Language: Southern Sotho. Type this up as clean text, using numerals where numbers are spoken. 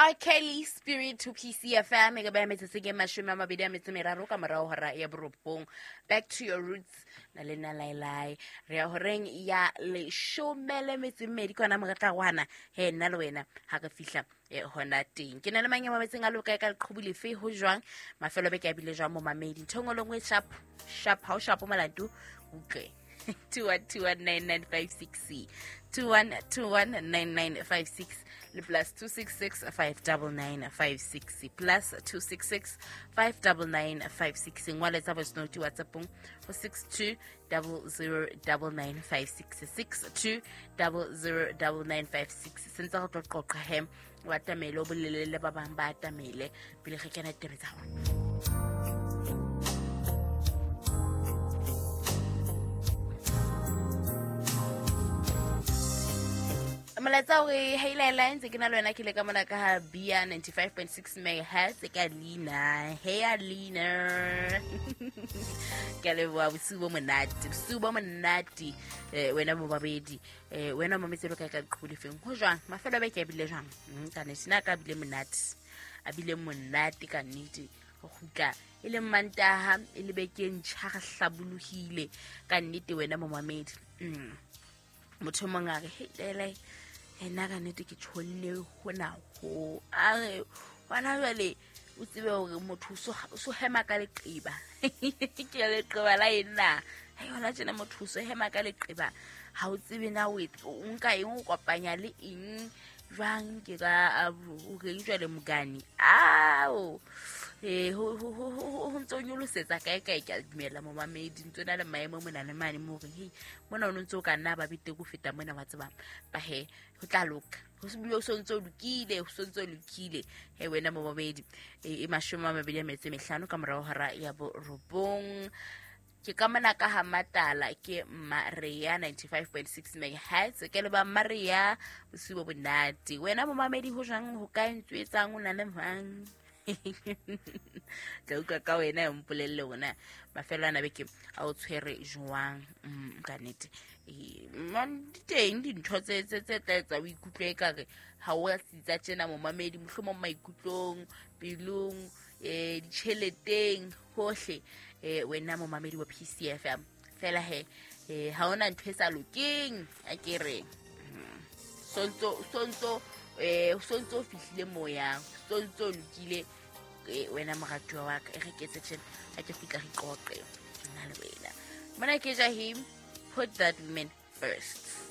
R. Kelly Spirit to PCFM e ka ba metsotso ke 23 ka morago hora ya borobong. Back to your roots na le nna laelae re ya horeng ya 12 ke yona moretlagwana he nna le wena ga re fihla hona teng. Ke na le mang ya mametseng a loka ka leqhubu lefe ho jwang mafelo a beke a bile jwang momamedi ntho e nngwe le nngwe sharp sharp ha o sharp molato utlwe. 21219956 21219956 le plus 266 59956 plus 266 59956 ngwaletsa voice note whatsappong go 62 009956 62 009956 sentse go tlo qoqa he o atamele o bolele le ba bang ba atamele pele ge kena ditaba tsa gona. Molaetsa ore hey laela ntse ke na le wena ke le ka mona ka ha bia 95.6 megahertz ka leina hey Alina ke a leboha bosiu bo monate bosiu bo monate wena bo babedi wena o mametse lo kae ka leqhubu lefeng ho jwang mafelo a beke a bile jwang ka nnete na ka bile monate a bile monate ka nnete go kgutla e le Mantaha e le beke ntšha re hlabolohile ka nnete wena momamedi. Motho mongwe a re hei lele ena ka nnete ke tšhonne hona ho a re gona jwale o tsebe hore motho o so hema ka leqeba ke leqeba la eng na hei hona tjena motho o so hema ka leqeba ha o tsebe na o nka eng o kopanya le eng jwang ke ka o reng jwale mokane ao ho ntse o nyolosetsa kae kae ke a dumela momamedi ntse o na le maemo mona le mane mo horeng hei mona o ntse o ka nna ba betere ho feta mona wa tsebang ba he ho tla loka ho bile o sontse o lokile ho sontse o lokile he wena momamedi e 25 ka morao hora ya borobong. Ke ka mona ka ha Matala ke Maria 95.6 megahertz ke le ba Maria bosiu bo monate wena momamedi ho jwang ho ka ntse etsang o na le mang tla utlwa ka wena e mpolelle ona mafelo ana beke a o tshwere jwang ka nnete di teng dintho tse tla etsa o ikutlwe ekare ha o a tsitsa tjena momamedi mohlomong maikutlong pelong ditjheleteng hohle wena momamedi wa PCFM fela he ha ona ntho e sa lokeng a ke re sontso o fihlile moyang sontso o lokile wena moratuwa wa ka e re ketse tjena a ke kgutla re qoqe nna le wena mona ke Jahim put that woman first.